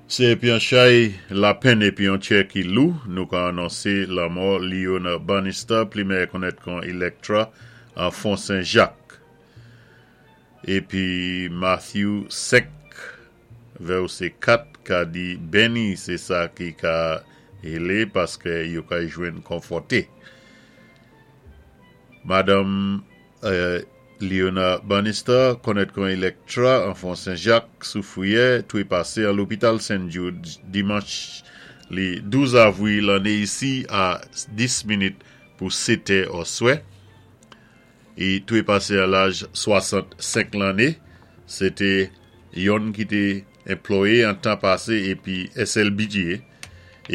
Sé épi an chay lapenn épi yon tjè ki lou, nou ka anonsé lanmò Leona Bannister, pli mèyè konnèt kon Electra, an Fon Sen Jak. Épi Matthew 5, vèsé 4 ka di Benni sé sa ki ka hélé paskè yo kay jwenn konfòté. Madanm Leona Bannister, konnèt kon Electra an Fon Sen Jak, Soufriyè, twépasé an lopital St. Jude dimanch li 12 avwi lanné isi a 10 minit pou 7 è òswè. I twépasé an laj 65 lanné. Sé té yonn ki té enplwaye an tan pasé épi SLBJ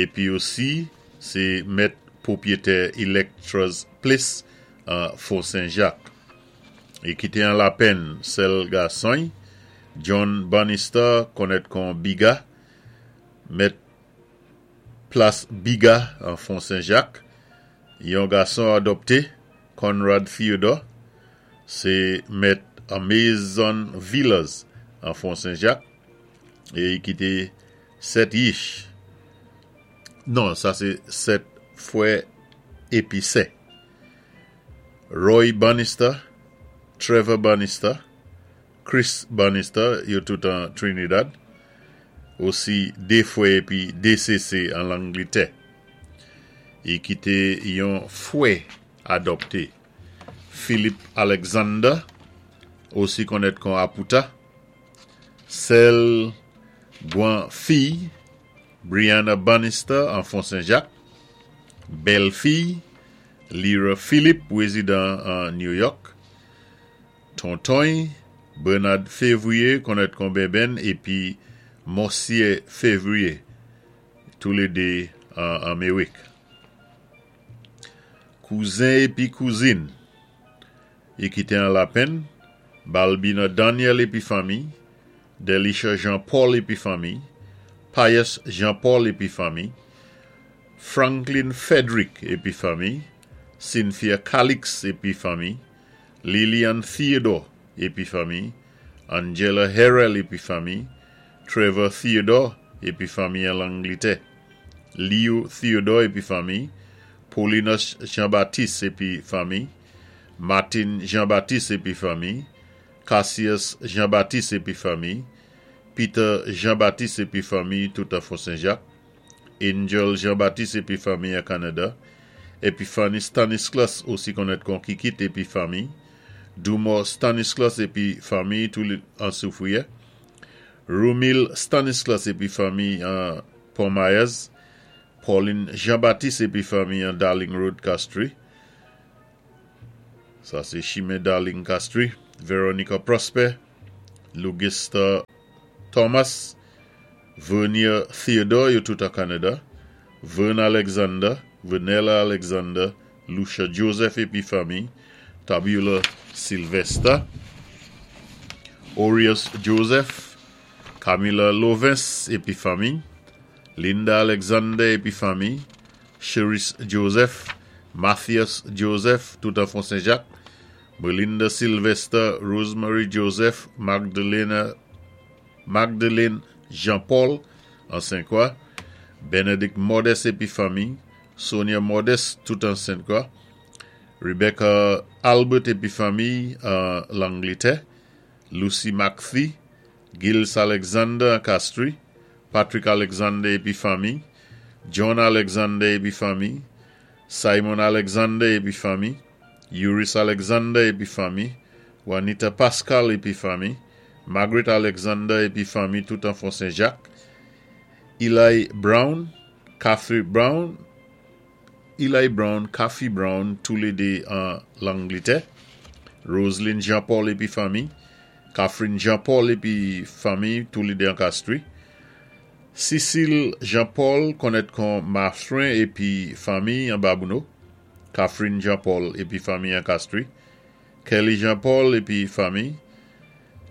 épi osi sé mèt pwopyetè Electra's Place an Fon Sen Jak. I kité an lapenn sèl gason-y, John Bannister, konnèt kon Biga, mèt plas Biga an Fon Sen Jak, yon gason adòpté, Conrad Theodore, sé mèt Amazon Villas an Fon Sen Jak, é i kité 7 yich. Non, sa sé 7 fwè épi sè. Roy Bannister, Trevor Bannister, Chris Bannister, yo tout an Trinidad, osi 2 fwè épi 2 sésé an Langlitè. I kité yon fwè adòpté, Philip Alexander, osi konnèt kon Apouta, sèl gwan fiy, Brianna Bannister an Fon Sen Jak, bèl fiy, Lyra Philip, wézidan an New York, tonton-y, Bernard Février, konnèt kon Benbenn, épi Monsyè Février, toulédé an Anméwik. Kouzen épi kouzin i kité an lapenn, Balbina Daniel épi fanmiy, Delisha Jean Paul épi fanmiy, Pius Jean Paul épi fanmiy, Franklin Frederick épi fanmiy, Cynthia Calix épi fanmiy, Lilian Theodore épi fanmiy, Angela Harrell épi fanmiy, Trevor Theodore épi fanmiy an Langlitè, Leo Theodore épi fanmiy, Paulinus Jean Baptiste épi fanmiy, Martin Jean Baptiste épi fanmiy, Cassius Jean Baptiste épi fanmiy, Peter Jean Baptiste épi fanmiy tout an Fon Sen Jak, Angel Jean Baptiste épi fanmiy an Kanada, Epiphany Stanislas osi konnèt kon Kikit épi fanmiy, Dumore Stanislas épi fanmiy tou an Soufriyè, Rumil Stanislas épi fanmiy an Pon Myers, Pauline Jean Baptiste épi fanmiy an Darling Road Castries, sa sé chimen Darling Castries, Veronica Prosper, Lugista Thomas, Vernier Theodore yo tout an Kanada, Vern Alexander, Vernella Alexander, Lucia Joseph épi fanmiy, Tabula Sylvester, Orius Joseph, Camilla Lovens épi fanmiy, Linda Alexander épi fanmiy, Cherise Joseph, Mathias Joseph, tout an Fon Sen Jak, Belinda Sylvester, Rosemary Joseph, Magdalena Magdeleine Jean Paul an Sen Kwa, Benedict Modeste épi fanmiy, Sonia Modeste tout an Sen Kwa, Rebecca Albert épi fanmiy an Langlitè, Lucy McPhee, Gilles Alexander an Castries, Patrick Alexander épi fanmiy, John Alexander épi fanmiy, Simon Alexander épi fanmiy, Uris Alexander épi fanmiy, Juanita Pascal épi fanmiy, Margaret Alexander épi fanmiy tout an Fon Sen Jak, Eli Brown, Cathy Brown, Eli Brown, Cathy Brown, toulédé an Langlitè, Roseline Jean Paul épi fanmiy, Catherine Jean Paul épi fanmiy toulédé an Castries, Cécile Jean Paul konnèt kon Mathurin épi fanmiy an Babouno, Catherine Jean Paul épi fanmiy an Castries, Kelly Jean Paul épi fanmiy,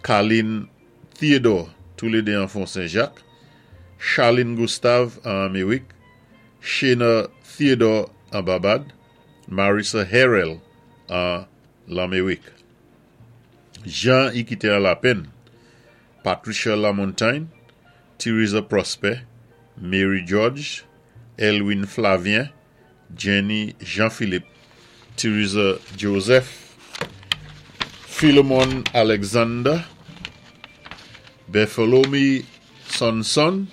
Carline Theodore toulédé an Fon Sen Jak, Charline Gustave an Anméwik, Shena Theodore an Barbad, Marissa Harrell an Lanméwik. Jan i kité an lapenn, Patricia Lamontagne, Theresa Prosper, Mary George, Elwin Flavien, Jenny Jean-Philippe, Theresa Joseph, Philemon Alexander, Bartholomew Sonson,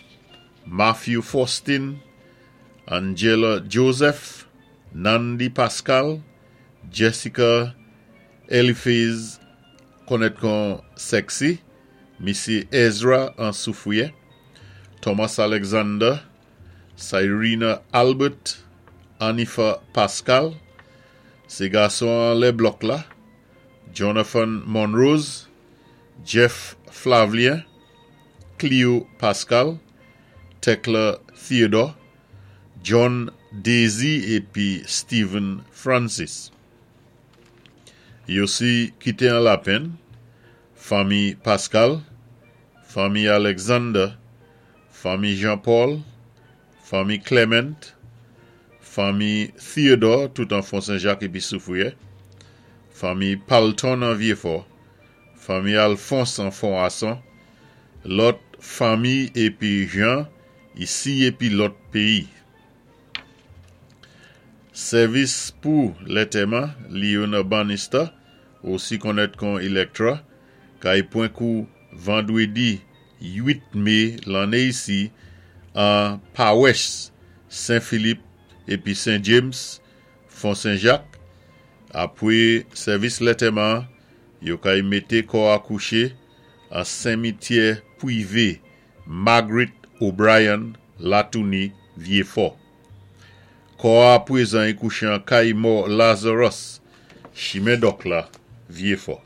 Matthew Faustin, Angela Joseph, Nandi Pascal, Jessica Eliphase konnèt kon Sexy, Missy Ezra an Soufrière, Thomas Alexander, Cyrena Albert, Anifa Pascal, sé gason anlè blòk la, Jonathan Monrose, Jeff Flavien, Cleo Pascal, Tekla Theodore, John Daisy épi Stephen Francis. Yo si kité an lapenn, fanmi Pascal, fanmi Alexander, fanmi Jean-Paul, fanmi Clement, fanmi Theodore, tout an Fon Sen-Jak épi Soufrière, fanmi Palton an Vyéfò, fanmi Alphonse an Fon Ason, lòt fanmi épi jan isi épi lòt péyi. Sèvis pou lantèman Leona Bannister, osi konnèt kon Electra, kay pwan kou vandwédi 8 mé lanné isi an Pawès Sen Filip épi Sen James, Fon Sen-Jak. Apwé sèvis lantèman, yo kay mété kò a kouché an simityè pwivé Margaret O'Brien, Latouni, Vyéfò. Kò a pwézan i kouché an kay mò Lazarus, chimen Dòk la, Vyéfò.